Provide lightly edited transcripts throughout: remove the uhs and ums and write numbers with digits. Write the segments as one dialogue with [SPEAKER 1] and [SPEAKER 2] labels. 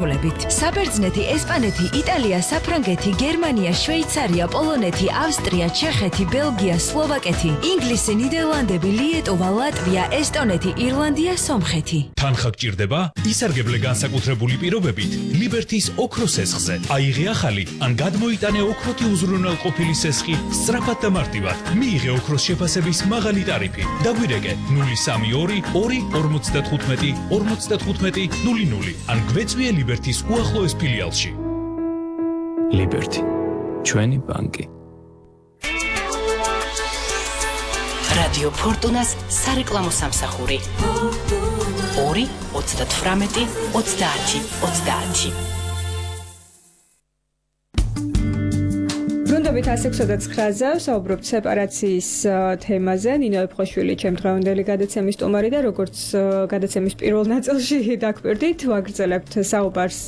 [SPEAKER 1] საბერძნეთი, ესპანეთი, იტალია, საფრანგეთი, გერმანია, შვეიცარია, პოლონეთი, ავსტრია, ჩეხეთი, ბელგია, სლოვაკეთი, ინგლისი, ნიდერლანდები, ლიეტოვა, ლატვია, ესტონეთი, ირლანდია, სომხეთი.
[SPEAKER 2] თანხა გჭირდება? ისარგებლე განსაკუთრებული პირობებით ლიბერთის ოქროს სესხზე. აიღე ახალი ან გადმოიტანე ოქროთი უზრუნველყოფილი სესხი სწრაფად და მარტივად. მიიღე ოქროს შეფასების მაღალი ტარიფი. დაგვირეკე 032 2 55 00 ან გვეწვიე ლიბერთის უახლოეს ფილიალში.
[SPEAKER 3] ლიბერთი, ჩვენი ბანკი.
[SPEAKER 4] რადიო ფორტუნას სარეკლამო სამსახური 2 38 30 30.
[SPEAKER 5] ბრუნდებით 169-ზე საუბრობთ სეპარაციის თემაზე. ნინო ეფხოშვილი ჩემ დღევანდელი გადაცემის სტუმარი და როგორც გადაცემის პირველ ნაწილში დაგვირდით, ვაგრძელებთ საუბარს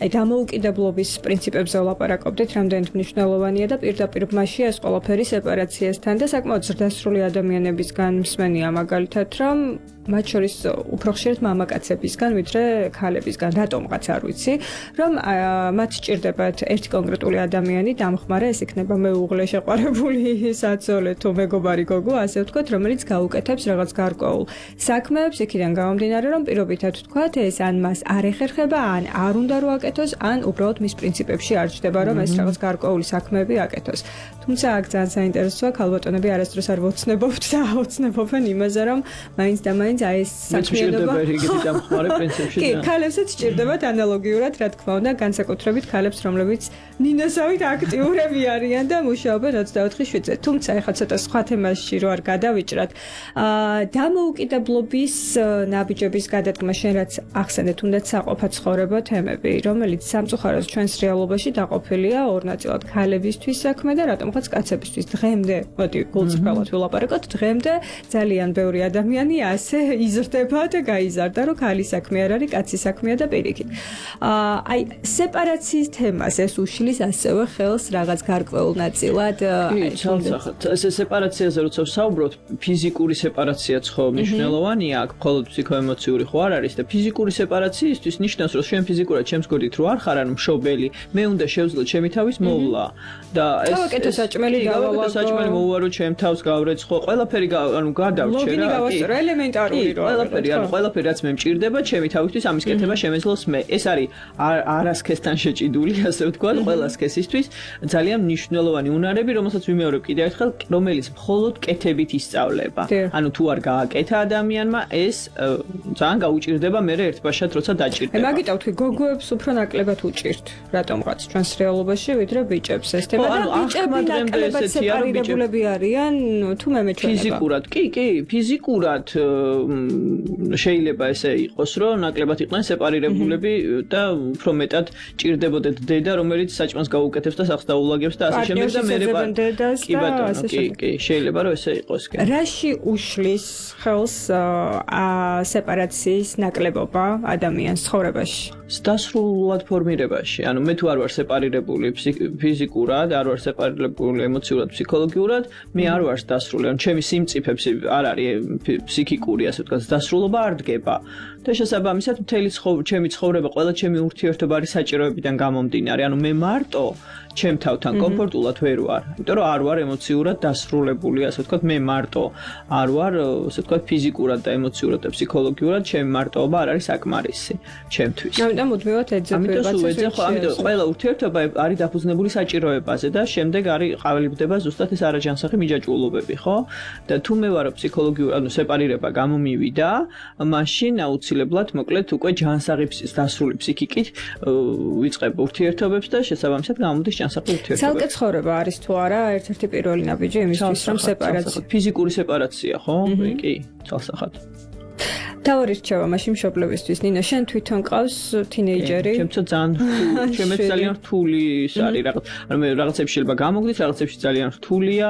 [SPEAKER 5] დამოუკიდებლობის პრინციპებზე ვლაპარაკობდით, რამდენად მნიშვნელოვანია და პირდაპირ მასში ეს ყველაფერი სეპარაციასთან და საკმაოდ ზრდასრული ადამიანებისგან მსმენია მაგალითად, რომ მათ შორის უფრო ხშირად მამაკაცებისგან, ვიდრე ქალებისგან, რატომღაც არ ვიცი, რომ მათ სჭირდებათ ერთი კონკრეტული ადამიანი დამხმარე, ეს იქნება მეუღლე, შეყვარებული საცოლე თუ მეგობარი გოგო, ასე ვთქვათ, რომელიც გაუკეთებს რაღაც გარკვეულ საქმეებს, იქიდან გამომდინარე, რომ პირობითად ვთქვათ, ეს ან მას არ ეხერხება, ან არ უნდა რომ აკეთოს, ან უბრალოდ მის პრინციპებში არ ჩდება, რომ ეს რაღაც გარკვეული საქმეები აკეთოს. თუმცა აქ ძალიან საინტერესოა, ქალბატონები არასდროს არ ვოცნებობთ და აუცნებობენ იმაზე, რომ მაინც და მაინც აი ეს საქმიანობა კი, ქალებსაც სჭირდებათ ანალოგიურად, რა თქმა უნდა, განსაკუთრებით ქალებს, რომლებიც ნინოსავით აქტიურები არიან და მუშაობენ 24/7-ზე. თუმცა ეხლა ცოტა სხვა თემაში რო არ გადავიჭრათ, დამოუკიდებლობის ნაბიჯების გადადგმა შენ რაც ახსენეთ, თუნდაც საყოფა ცხოვრება თემები, რომელიც სამწუხაროდ ჩვენს რეალობაში დაყოფილია ორ ნაწილად, ქალებისთვის საქმე და რატომღაც კაცებისთვის. დღემდე, მოდი გულწრფელად ვილაპარაკოთ, დღემდე ძალიან ბევრი ადამიანი ასე იზრდება და გაიზარდა, რომ ქალის საქმე არ არის, კაცის საქმეა და პირიქით. აი, სეპარაციის თემას ეს უშლის ასევე ხელს რაღაც გარკვეულ ნაწილად.
[SPEAKER 6] ეს სეპარაციაზე როცა ვსაუბრობთ, ფიზიკური სეპარაციაც ხო მნიშვნელოვანია, აქ მხოლოდ ფსიქოემოციური ხო არ არის და ფიზიკური სეპარაციისთვის ნიშნავს, რომ შენ ფიზიკურად ჩემს გვერდით რო არ ხარ, ანუ მშობელი, მე უნდა შევძლო ჩემი თავის მოვლა და ეს
[SPEAKER 5] გავაკეთო საჭმელი
[SPEAKER 6] გავაკეთო საჭმელი მოვუარო ჩემ თავს გავრეცხო, ყველაფერი ანუ გადავრჩე რა.
[SPEAKER 5] ლოგინი ელემენტარული რო
[SPEAKER 6] ყველაფერი, ანუ ყველაფერი რაც მე მჭირდება, ჩემი თავისთვის ამის კეთება შემეძლოს მე. ეს არის არასქესთან შეჭიდული, ასე ვთქვათ, ყველა სქესისთვის ძალიან მნიშვნელოვანი უნარები, რომელსაც ვიმეორებ კიდევ ერთხელ, რომელიც მხოლოდ კეთებით ისწავლება. ანუ თუ არ გააკეთა ადამიანმა, ეს ძალიან გაუჭირდება მე ერთბაშად, როცა დაჭირდება.
[SPEAKER 5] მაგიტო თქვი, გოგოებს უფრო ნაკლებად უჭირთ, რატომღაც ჩვენს რეალობაში, ვიდრე ბიჭებს ეს თემა და ბიჭები ნაკლებად სეპარირებულები არიან, თუ მე მეჩვენება.
[SPEAKER 6] ფიზიკურად, კი, ფიზიკურად შეიძლება ესე იყოს, რომ ნაკლებად იყვნენ სეპარირებულები და უფრო მეტად ჭირდებოდეთ დედა, რომელიც საჭმელს გაუკეთებს და სახს დაულაგებს და ასე შემდეგ და მე კი ბატონო, კი, შეიძლება რომ ესე იყოს.
[SPEAKER 5] რაში უშლის ხელს სეპარაციის ნაკლებობა ადამიანის ცხოვრებაში?
[SPEAKER 6] დასრულად ფორმირებაში. ანუ მე თუ არ ვარ სეპარირებული ფიზიკურად, არ ვარ სეპარირებული ემოციურად, ფსიქოლოგიურად, მე არ ვარ დასრული. ანუ ჩემი სიმწიფეებში არ არის ფსიქიკური, ასე ვთქვათ, დასრულობა არ დგება. და შესაბამისად მთელი ჩემი ცხოვრება, ყველა ჩემი ურთიერთობა არის საჭიროებიდან გამომდინარე. ანუ მე მარტო ჩემ თავთან კომფორტულად ვერ ვარ. იმიტომ რომ არ ვარ ემოციურად დასრულებული, ასე ვთქვათ, მე მარტო არ ვარ, ასე ვთქვათ, ფიზიკურად და ემოციურად და ფსიქოლოგიურად ჩემი მარტოობა არ არის საკმარისი ჩემთვის.
[SPEAKER 5] ამიტომ მუდმივად ეძებება.
[SPEAKER 6] ამიტომ ყველა ურთიერთობა არის დაფუძნებული საჭიროებაზე და შემდეგ არის ყავლიბდება ზუსტად ეს არაჯანსაღი მიჯაჭვულობები, ხო? და თუ მე ვარ ფსიქოლოგიური, ანუ სეპარირება გამომივიდა, მაშინ აუცილებლად მოკლედ უკვე ჯანსაღი დასრული ფსიქიკით ვიწყებ ურთიერთობებს და შესაბამისად გამოდის ჯანსაღი ურთიერთობები.
[SPEAKER 5] ცალკე ცხოვრება არის თუ არა ერთ-ერთი პირველი ნაბიჯი იმისთვის, რომ სეპარაცია.
[SPEAKER 6] ფიზიკური სეპარაცია, ხო? კი, ცალსახად.
[SPEAKER 5] თავი რჩევა მაშინ მშობლებისთვის. ნინო, შენ თვითონ ყავს თინეიჯერი?
[SPEAKER 6] ჩემს ძალიან რთული ის არის რაღაც. ანუ მე რაღაცებში შეიძლება გამოგდით, რაღაცებში ძალიან რთულია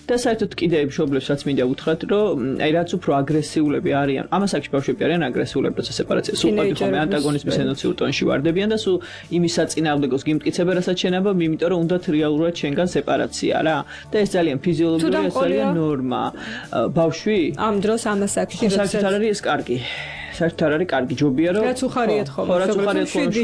[SPEAKER 6] და საერთოდ კიდე მშობლებსაც მინდა უთხრათ, რომ აი რაც უფრო აგრესიულები არიან, ამას აქ ბავშვები არიან აგრესიულები, როცა სეპარაცია. სულ ხომ ანტაგონიზმის ემოციურ ტონში ვარდებიან და სულ იმის საწინააღმდეგოს გიმტკიცებენ, რასაც შენაბა, იმიტომ რომ უნდათ რეალურად შენგან სეპარაცია რა. და ეს ძალიან ფიზიოლოგიურად ძალიან ნორმა. ბავშვი
[SPEAKER 5] ამ დროს ამას აქ
[SPEAKER 6] არის ეს კარგი. საერთოდ არ არის კარგი ჯობია რომ
[SPEAKER 5] რაც უხარიათ ხოლმე
[SPEAKER 6] რაც უხარიათ ხოლმე